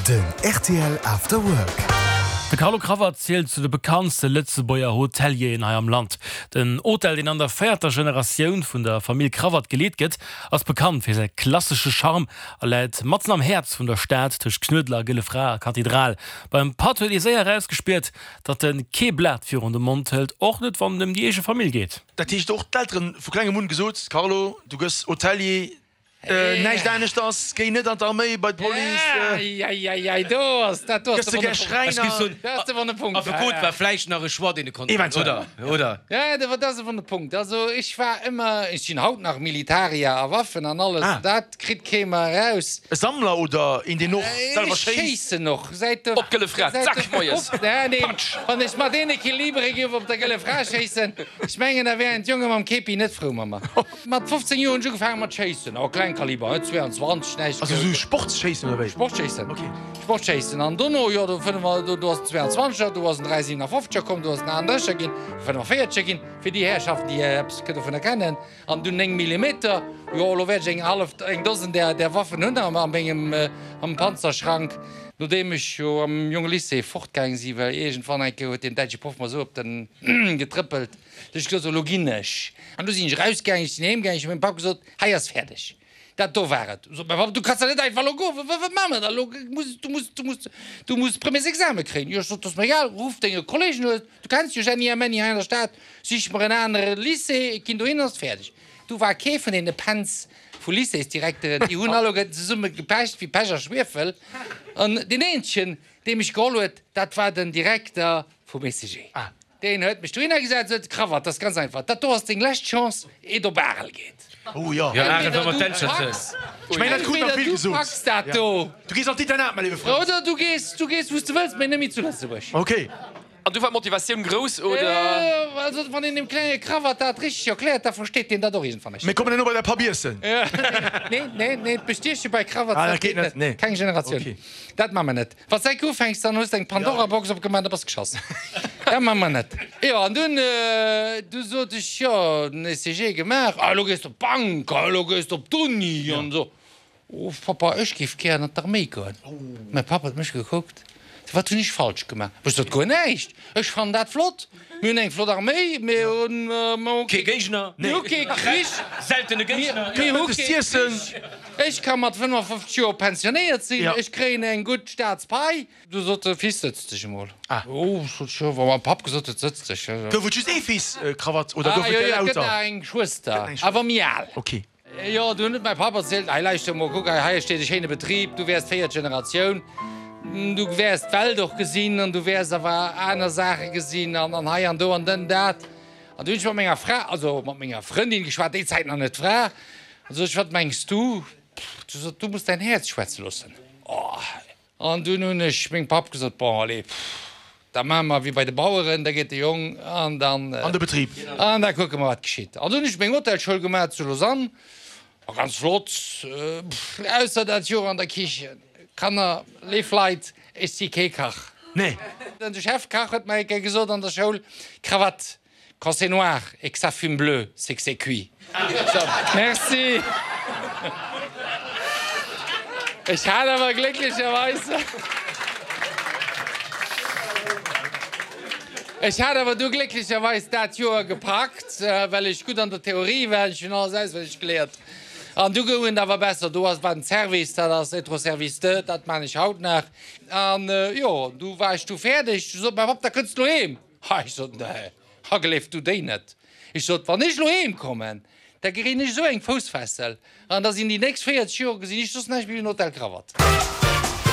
Den rtl After Work. De Carlo Cravat zielt zu de bekanntste Lëtzebuerger Hotelieren hei am Land. Den Hotel, deen an der véierter Generatioun vun der Famill Cravat geleet gëtt, ass bekannt fir säi klassesche Charme a läit matzen am Häerz vun der Stad, tëscht Knuedler, Gëlle Fra a Kathedral. Beim Patt huet ee séier erausgespiert, datt en kee Blat virun de Mond hëlt, och net wann et ëm déi eege Famill geet. Dat heescht och d'Elteren vu klengem un gesot, Carlo, du gëss Hotelier, näischt aneschters, géi net an d'Arméi, bei d'Police, Eieiei, do ass dat do ass gëss de gär Schräiner. Dat ass de wonne Punkt. Affekot war vläicht nach e Choix, deen e konnt maachen, oder? Oder? Ja, dat ass e wonne Punkt. Also ech war ëmmer, ech sinn haut nach Militarier a Waffen an alles, dat kritt kee mer eraus. E Sammler oder een, deen och selwer Ech schéisst? schéissen och säit de. Op d'Gëlle Fra, zack, moies, Nee, patsch! wann ech mat deene Kilibere géif op der Gëlle Fra schéissen, ech mengen, da wären d'Jonge mam Kepi net frou mat mer. Mat 15 Joer hunn ech ugefaange mat schéissen, oh Kleinkaliber, net 22, näischt. Also sou Sportsschéissen oder wéi? Sportschéissen, Ok. Sportschéissen. An dono, jo, do fënne mer, do, do ass den 22er, do ass den 357er komm, do ass den 38er ginn, 45er ginn, fir déi Härschaften, déi eppes dovunner kennen. An dunn 9 Millimeter, jo, elo wäert ech eng hallef, eng Dosen där, där Waffen hunn a mengem, am Panzerschrank. Nodeem ech jo am jonge Lycée fortgaang si, well iergendwann eng Kéier huet deen däitsche Proff mer esou op den getrëppelt, Du ech gesot, elo ginn ech. An du sinn ech erausgaangen, ech sinn heem gaangen, ech hu mengem Papp gesot, hei ass fäerdeg, dat do war et. Sot mäi Papp, du kanns dach net einfach elo goen, wat maache mer da elo, muss, du muss, du muss, du muss Premiersexame kréien. Jo, ech sot, dat ass mer egal, ruff denge Kollegen un, du kenns jo Jenny a Menny hei an der Stad, sich mer en anere Lycée, ech ginn dohin, ass fäerdeg. Du war kee vun deene Pänz vu Lycéesdirekteren, déi hunn alleguerten zesumme gepecht wéi Pech a Schwiefel. An deen eenzegen, dee mech geholl huet, dat war den Direkter vum ECG. Deen huet mech dohinner gesat, sot, Cravat, dat ass ganz einfach, dat do ass deng lescht Chance, eet op Arel geet. Oh jo. Jo, Arel war mat Dänscher ze. Ech mengen, dat krut nach vill Entweder du gesot. packs dat do. Du gees an d'Internat, mäi léiwe Frënd. Oder du gees, du gees wou s de wëlls, mee net méi zu Lëtzebuerg. Ok. An du war d'Motivatioun grouss, oder? Also, wann een dem klenge Cravat dat richteg erkläert, da versteet deen dat och iergendwann. Mir kommen herno bei däi Papp iessen. Nee, nee, nee, d'Bestieche bei Cravats, Ah, dat dat geet geet net, net. nee. Keng Generatioun. Ok. Dat maache mer net. Wann s de enk ufänks, dann hues de eng Pandora-Box opgemaach, da bass de geschoss. Dat maache mer net. Jo, an dunn, du sot ech, jo, den ECG gemaach, ah, elo gees de op d'Bank, ah, elo gees de op d'Uni an esou. Oh, Pappa, ech géif gären an d'Arméi goen. Mäi Papp huet mech gekuckt, Wat hunn ech falsch gemaach? Ech sot, Guer näischt, ech fannen dat flott. Mir hunn eng flott Arméi, mir hunn kee Géigner, mir hu kee Krich, seltene Géigner, mir hu kee Krich. Ech ka mat 55 Joer pensionéiert sinn, ech kréien eng gutt Staatspai. Du sot de Fils, sëtz dech emol. Oh, sot ech, jo, wa mäi Papp gesot huet, sëtz dech. Gouf et just ee Fils, Krawatt, oder gouf et der lauter? Jo, jo, et gëtt nach eng Schwëster, awer méi al. Ok. Jo, du hunn et mäi Papp erzielt, Hei, lauschter emol, kuck hei, hei steet e schéine Betrib, du wäers d'véiert Generatioun, du wäers d'Welt och gesinn an du wäers awer aner Saache gesinn an an hei an do an dënn dat. An du hunn ech mat menger Fra, also mat menger Frëndin geschwat, déi Zäit nach net Fra, an sot ech, Wat mengs du? Du sot, Du muss däin Häerz schwätze loossen. Oh! An dunn hunn ech mengem Papp gesot, Bon, allez, da maache mer wéi bei de Baueren, da geet de Jong an dann. An de Betrib. An da kucke mer, wat geschitt. An dunn hunn ech meng Hotelschoul gemaach zu Lausanne, war ganz flott, ausser dat Joer an der Kichen. Kanner, léif Leit, ech si kee Kach. Nee. De Chefkach huet mer eng Kéier gesot an der Schoul, Krawatt, Quand c'est noir et que ça fume bleu, c'est que c'est cuit. So, merci. Ech hat awer glécklecherweis, ech hat awer du glécklecherweis dat Joer gepackt, well ech gutt an der Theorie war. Ech hunn alles auswenneg geléiert. An du goung et awer besser. Do ass, war den Service, dat ass être au service de, dat maan ech haut nach. An jo, du war ech du fäerdeg. Du sot mäi Papp, da kënns du heem. Ha, ech sot, nee, ha gleef du déi net. Ech sot, wann ech elo heem kommen, da kréien ech esou eng Foussfessel an da sinn déi nächst 40 Joer gesinn ech soss näischt méi wéi en Hotel Krawatt.